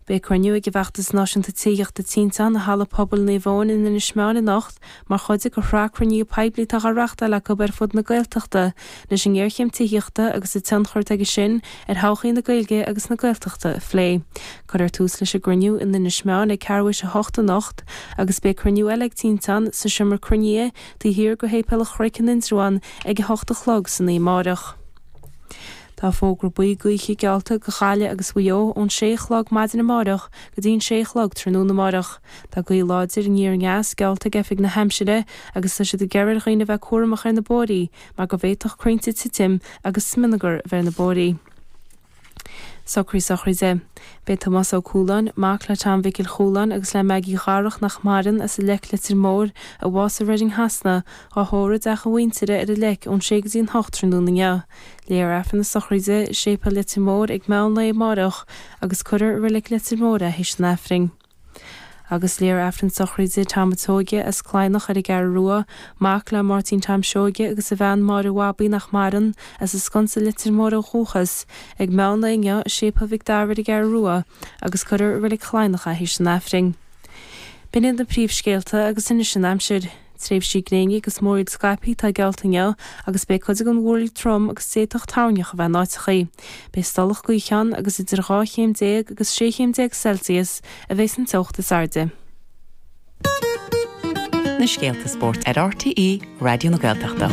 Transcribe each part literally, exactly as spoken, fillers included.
Beidh cruinniú ag an bhFeachtas Náisiúnta Tithíochta Tinteán i Halla Pobail Naomh Eoin in Inis Meáin anocht mar chuid de shraith cruinnithe poiblí atá á reáchtáil acu ar fud na Gaeltachta leis an ngéarchéim tithíochta agus a tionchar atá aige sin ar thodhchaí na Gaeilge agus na Gaeltachta a phlé. Cuirfear tús leis an gcruinniú in Inis Meáin ag ceathrú théis a hocht anocht agus beidh cruinniú eile ag Tinteán sa seomra cruinnithe taobh thiar de Shéipéal an Chnoic in Indreabhán ag a hocht a chlog san oíche amárach. Tá fógra buí gaoithe geallta do Ghaillimh agus Mhaigh Eo ón sé a chlog maidin amárach go dtí an sé a chlog tráthnóna amárach. Tá gaoth láidir aniar aneas geallta ag Oifig na hAimsire agus tá siad ag iarraidh ar dhaoine bheith cúramach ar na bóithrí mar go bhféadfadh crainnte titim agus smionagar a bheith ar na bóithrí. Socruithe sochraide. Beidh Tomás Ó Cualáin, mac le Tom Mhicil Chualáin agus le Maggie Dharach nach maireann as an Leic Leitir Móir, a bhásaigh i Reading Shasana, á thórramh i dteach a mhuintire ar an Leic ón sé go dtí an hocht tráthnóna inniu. Léifear Aifreann na sochraide i Séipéal Leitir Móir ag meán lae amárach agus cuirfear i Reilig Leitir Móir é théis an Aifrinn. Agus léifear Aifreann sochraide Tom Seoige as Cladhnach ar an gCeathrú Rua, mac le Máirtín Tom Seoige agus a bhean Máire Bhabaí nach maireann, as an Sconsa Leitir Móir ó dhúchas, ag meán lae inniu i Séipéal Mhic Dara ar an gCeathrú Rua, agus cuirfear i Reilig Chladhnach é théis an Aifrinn. B'in iad na príomhscéalta agus anois an aimsir. Tréimhsí gréine agus múraíl scaipthe atá geallta inniu agus beidh cuid den mhúraíl trom agus d'fhéadfadh toirneach a bheith in áiteachaí. Beidh stolladh gaoithe ann agus idir dhá chéim déag agus sé chéim déag Celsius a bheidh san teocht is airde. Na scéalta spóirt ar RTÉ Raidió na Gaeltachta.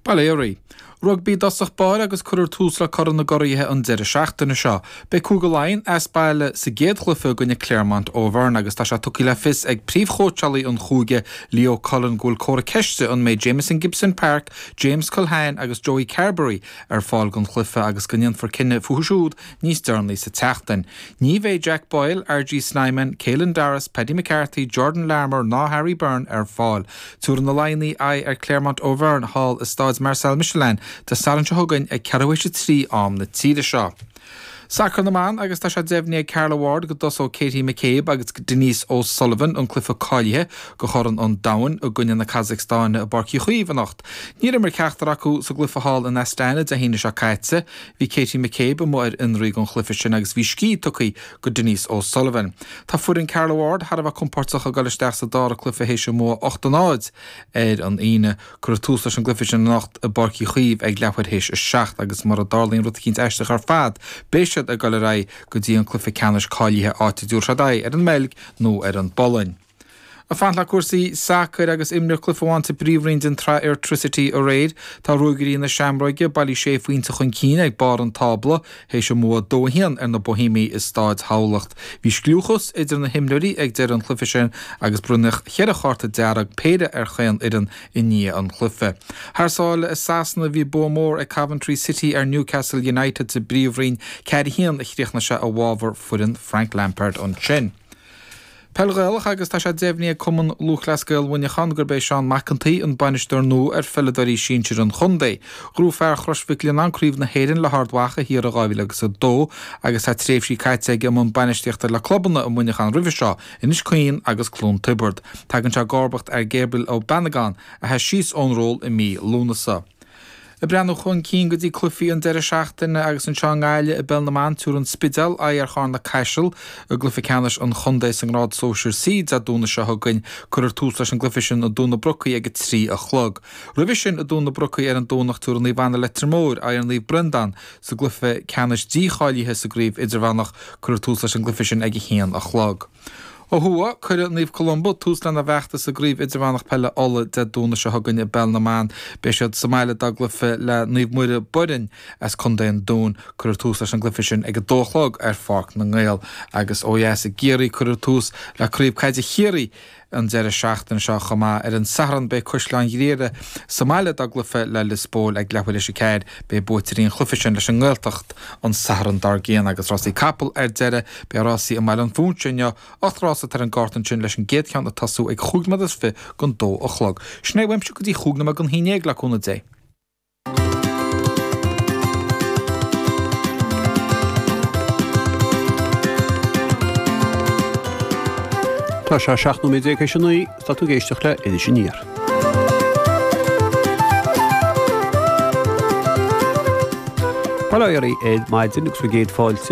Bail ó Dhia oraibh. Rugbaí i dtosach báire agus cuirfear tús le Corn na gCuraithe an deireadh seachtaine seo. Beidh Cúige Laighean as baile sa gcéad chluiche i gcoinne Clermont Auvergne agus tá sé tugtha le fios ag príomhchóitseálaí an chúige Leo Cullen go bhfuil comhartha ceiste an mbeidh Jamison Gibson Park, James Culhane agus Joey Carbery ar fáil don chluiche agus go ndéanfar cinneadh fúthu siúd níos deireanaí sa tseachtain. Ní bheidh Jack Boyle, RG Snyman, Caelan Doris, Paddy McCarthy, Jordan Larmour ná Harry Byrne ar fáil. Tabharfaidh na Laighnigh aghaidh ar Clermont Auvergne thall i Staid Marcel Michelin Dé Sathairn seo chugainn ag ceathrú théis a trí am na tíre seo. Sacar na mban agus tá sé deimhnithe ag Carla Ward go dtosóidh Katie McCabe agus Denise O'Sullivan an cluiche cáilithe do Chorn an Domhain i gcoinne na Casacstáine i bPáirc Uí Chaoimh anocht. Níor imir ceachtar acu sa gcluiche thall in Astana Dé hAoine seo caite. Bhí Katie McCabe amuigh ar fionraí don chluiche sin agus bhí scíth tugtha go Denise O'Sullivan. Tá foireann Carla Ward thar a bheith compordach ag dul isteach sa dara cluiche théis a mbua ocht a náid ar an Aoine. Cuirfear tús leis an gcluiche sin anocht i bPáirc Uí Chaoimh ag leathuair théis a seacht agus mura dtarlaíonn rud eicínt aisteach ar fad, beidh siad ag dul ar aghaidh go dtí an cluiche ceannais cáilithe áit a dtabharfaidh siad aghaidh ar an mBeilg nó ar an bPolainn. Ag fanacht le cúrsaí sacair agus imríodh cluiche amháin sa bpríomhroinn den tsraith Airtricity aréir. Tá Ruagairí na Seamróige bailí sé phointe chun cinn ag barr an tábla théis a mbua dó a haon ar na Boihéamaigh i Stáid Thamhlacht. Bhí scliúchas idir na himreoirí ag deireadh an chluiche sin agus bronnadh cheithre chárta dearg péire ar chaon fhoireann i ndiaidh an chluiche. Thar sáile i Sasana bhí bua mór ag Coventry City ar Newcastle United sa bpríomhroinn ceathair a haon a chríochnaigh sé i bhfabhar foireann Frank Lampard ansin. Peil Ghaelach agus tá sé deimhnithe ag Cumann Lúthchleas Gael Mhuineacháin gurb é Seán Mac an tSaoi an bainisteoir nua ar pheileadóirí sinsir an chontae. Ghnóthaigh fear Chrois Mhic Lionnáin Craobh na hÉireann le hArd Mhacha thiar i dhá mhíle agus a dó agus tá tréimhsí caite aige i mbun bainistíochta le clubanna i Muineachán roimhe seo, Inis Caoin agus Cluain Tiobraid. Tagann sé i gcomharbacht ar Gabriel Ó Beannagáin a sheas síos ón ról i mí Lúnasa. Ag breathnú chun cinn go dtí cluichí an deireadh seachtaine agus anseo i nGaillimh i bPeil na mBan, tabharfaidh an Spidéal aghaidh ar Charna-Caiseal i gcluiche ceannais an chontae sa ngrád sóisir C Dé Domhnaigh seo chugainn. Cuirfear tús leis an gcluiche sin i dTóin na Brocaí ag a trí a chlog. Roimhe sin i dTóin na Brocaí ar an Domhnach tabharfaidh Naomh Anna Leitir Móir aghaidh ar Naomh Breandán sa gcluiche ceannais dícháilithe sa gcraobh idirmheánach. Cuirfear tús leis an gcluiche sin ag a haon a chlog. Ó thuaidh, cuirfidh Naomh Columba tús lena bhfeachtas i gCraobh Idirmheánach Peile Uladh Dé Domhnaigh seo chugainn i bPeil na mBan. Beidh siad sa mbaile dá gcluiche le Naomh Muire Boirinn as Contae an Dúin. Cuirfear tús leis an gcluiche sin ag a dó a chlog ar Pháirc na nGael. Agus ó dheas i gCiarraí, cuirfear tús le Craobh Caide Chiarraí an deireadh seachtaine seo chomh maith. Ar an Satharn beidh Caisleán Ghriaire sa mbaile dá gcluiche le Lios Póil ag leathuair théis a ceathair. Beidh buaiteoirí an chluiche sin leis an nGaeltacht an Satharn dár gcionn agus rásaí capall ar deireadh. Beidh rásaí i mBaile an Phúinse inniu, ocht rás atá ar an gcárta ansin leis an gcéad cheann ag tosú ag chúig nóiméad is fiche don dó a chlog. Sin é uaimse go dtí chúig nóiméad don haon déag le cúnamh Dé. Tá sé seacht nóiméad déag théis a naoi, tá tú ag éisteacht le Iris Aniar. Bail ó Dhia oraibh ar maidin agus bhur gcéad fáilte.